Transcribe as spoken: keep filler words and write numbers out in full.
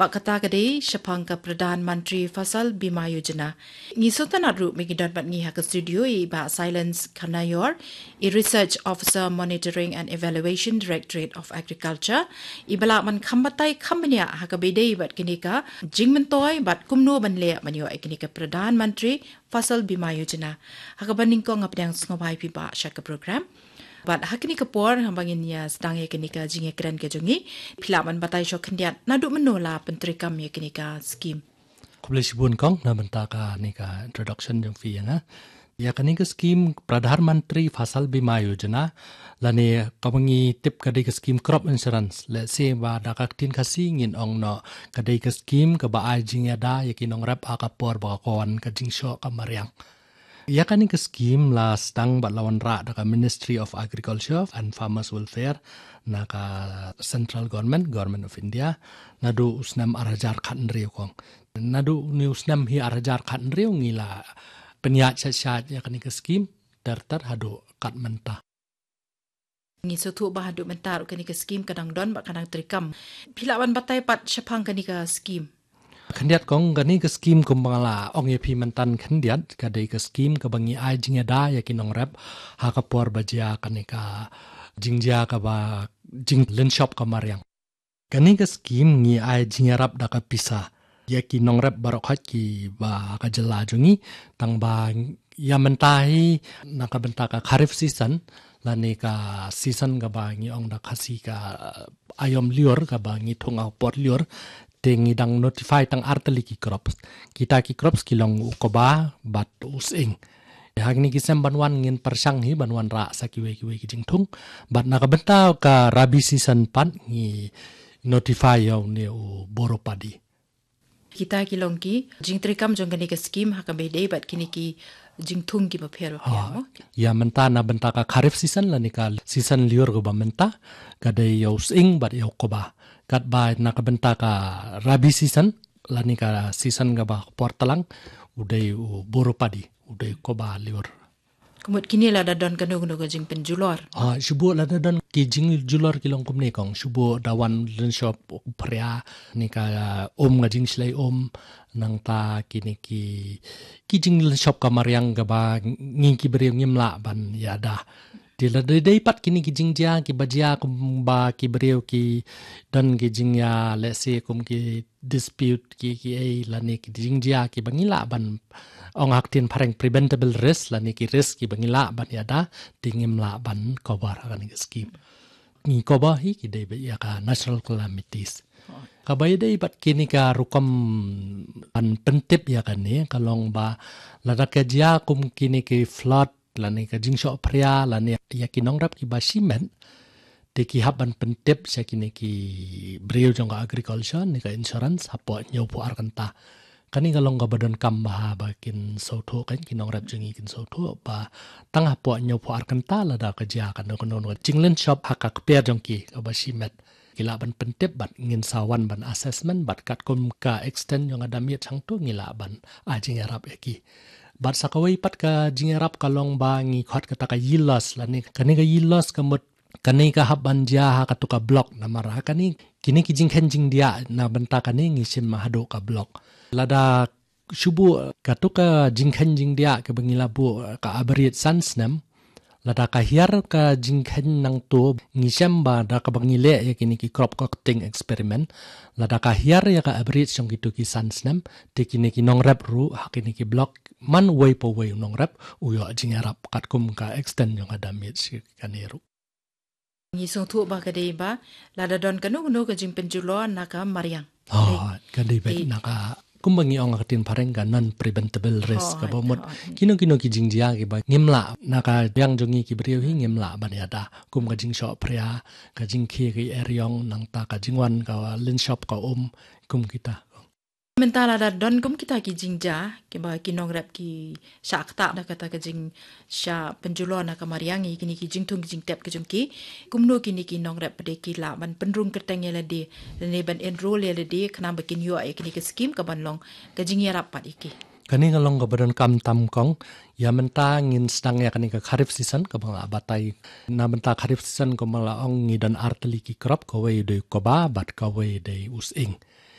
Bad kata ka dei shaphang ka Pradhan Mantri Fasal Bima Yojana. Ngi sngewtynnat ruh ba ngi don bad ngi ha ka studio i Bah Silence Khanayor, i Research Officer Monitoring and Evaluation, Directorate of Agriculture, iba lah ban kham batai kham bniah ha kaba ïadei bad kane ka jingmyntoi bad kumno ban leh ban ïoh ïa kane ka Pradhan Mantri Fasal Bima Yojana. Ha kaba nyngkong nga pdiang sngewbha ïa phi Bah sha ka program. Bad ha kane ka por haba ngin ïa sdang ïa kane ka jingïakren ka jong ngi, phi lah ban batai shuwa khyndiat naduh mynno la pyntreikam ïa kane ka skim? Khublei shibun kong na bynta kane ka introduction jong phi ïa nga. Ïa kane ka skim Pradhan Mantri Fasal Bima Yojana, lane kaba ngi tip ka dei ka skim crop insurance, lehse ba da ka ktien Khasi ngin ong noh ka dei ka skim kaba ai jingïada ïa ki nongrep ha ka por ba ka wan ka jingshoh ka mariang. Ïa kane ka skim la sdang bad la wanrah da ka Ministry of Agriculture and Farmers Welfare na ka Central Government, Government of India, naduh u snem ar hajar khathynriew kong. Naduh une u snem hi ar hajar khathynriew ngi la pynïaid shait shait ïa kane ka skim ter ter haduh kat mynta. Ngi sngewthuh ba haduh mynta ruh kane ka skim ka dang don bad ka dang treikam. Phi lah ban batai pat shaphang kane ka skim? Khyndiat kong, kane ka skim kumba nga la ong ïa phi mynta khyndiat, ka dei ka skim kaba ngi ai jingïada ïa ki nongrep ha ka por ba jia kane ka jingjia kaba jinglynshop ka mariang. Kane ka skim ngi ai jingïarap da ka pisa ïa ki nongrep baroh khoit kiba ha ka jylla jong ngi, tang ba ïa mynta hi na ka bynta ka kharif season lane ka season kaba ngi ong da Khasi ka, uh, aïom lyiur kaba ngi thung ha u por lyiur, te ngi dang notify tang ar tylli ki crops. Kita ki crops ki long u kba bad u sying. Ha kine ki snem ban wan ngin pyrshang hi ban wanrah sa kiwei kiwei ki jingthung. Bad na ka bynta ka rabi season pat ngi notify ïa une u boro padi. Kita ki long ki jingtreikam jong kane ka skim ha kaba ïadei bad kine ki jingthung kiba pher bapher. Ha, mo? Ïa mynta na bynta ka kharif season lane ka season lyiur kaba mynta, ka dei ïa u sying bad ïa u kba. Katba na ka bynta ka rabi season lane ka season kaba por tlang, u dei u boro padi, u dei u kba lyiur. Ka mut kine lada don kano kano ka jingpynjulor? Ah, shu buh lada don ki jingjulor ki long kumne kong, shu buh da wan lynshop u phria, ne ka, ah, um, ka jingshlei um, nangta kine ki, ki jinglynshop ka mariang kaba ngi ki briew ngim lah ban ïada. Te lada dei pat kine ki jingjia kiba jia kumba ki briew ki don ki jingïa, let's say, kum ki dispute ki, ki ei lane ki jingjia kiba ngi lah ban ong ha ka ktien phareng preventable risk lane ki risk kiba ngi lah ban ïada, te ngim lah ban cover ha kane ka skim. Ngi cover hi ki dei bad ïa ka natural calamities. Kaba ïadei bad kine ka rukom ban pyntip ïa kane ka long ba lada ka jia kum kine ki flood lane ka jingshoh phria lane ïa ki nongrep kiba shimet, te ki hap ban pyntip sha kine ki briew jong ka agriculture ne ka insurance hapoh hynñiewphew ar kynta. Kane ka long kaba donkam bha ba kin sngewthuh kan, ki nongrep jong ngi kin sngewthuh ba tang hapoh hynñiewphew ar kynta lada ka jia kano kano ka jinglynshop ha ka kper jong ki kaba shimet, ki lah ban pyntip bad ngin sa wan ban assessment bad katkum ka extent jong ka damage hangto ngi lah ban ai jingïarap ïa ki. Bad sa kawei pat ka jingïarap ka long ba ngi khot kata ka yield loss lane kane ka yield loss ka mut kane ka hap ban jia ha katu ka block, namar ha kane kine ki jingkheiñ jingdiah na bynta kane ngi shim haduh ka block. Lada shu buh katu ka jingkheiñ jingdiah kaba ngi la buh ka average san snem, lada ka hiar ka jingkheiñ nangto, ngi shem ba da kaba ngi leh ïa kine ki crop cutting experiment, lada ka hiar ïa ka average jong kitu ki san snem, te kine ki nongrep ruh ha kine ki block, man uwei pa uwei u nongrep u ïoh jingïarap katkum ka extent jong ka damage kane ruh. Ngi sngewthuh ba ka dei ba lada don kano kano ka jingpynjulor na ka mariang. Oh, ka dei ba na ka, kumba ngi ong ha ka ktien phareng ka non preventable risk, kaba mut kino kino ki jingjia kiba ngim lah, na ka biang jong ngi ki briew hi ngim lah ban ïada, kum ka jingshoh phria, ka jingkhie ka eriong, nangta ka jingwan ka lynshop ka um, kum kita. Mynta lada don kum kita ki jingjia kiba ki nongrep ki shah ktah da kata ka jingshah pynjulor na ka mariang ïa kine ki jingthung ki jingtep ka jong ki, kumno kine ki nongrep pat de ki lah ban pynrung kyrteng ïa lade lane ban enrol ïa lade khnang ba kin ïoh ïa kine ki skim ka ban long ka jingïarap pat ïa ki? Kane ka long kaba donkam tam kong. Ïa mynta ngin sdang ïa kane ka kharif season kaba nga la batai. Na bynta kharif season kaba nga la ong ngi don ar tylli ki crop, kawei dei u kba bad kawei dei u sying.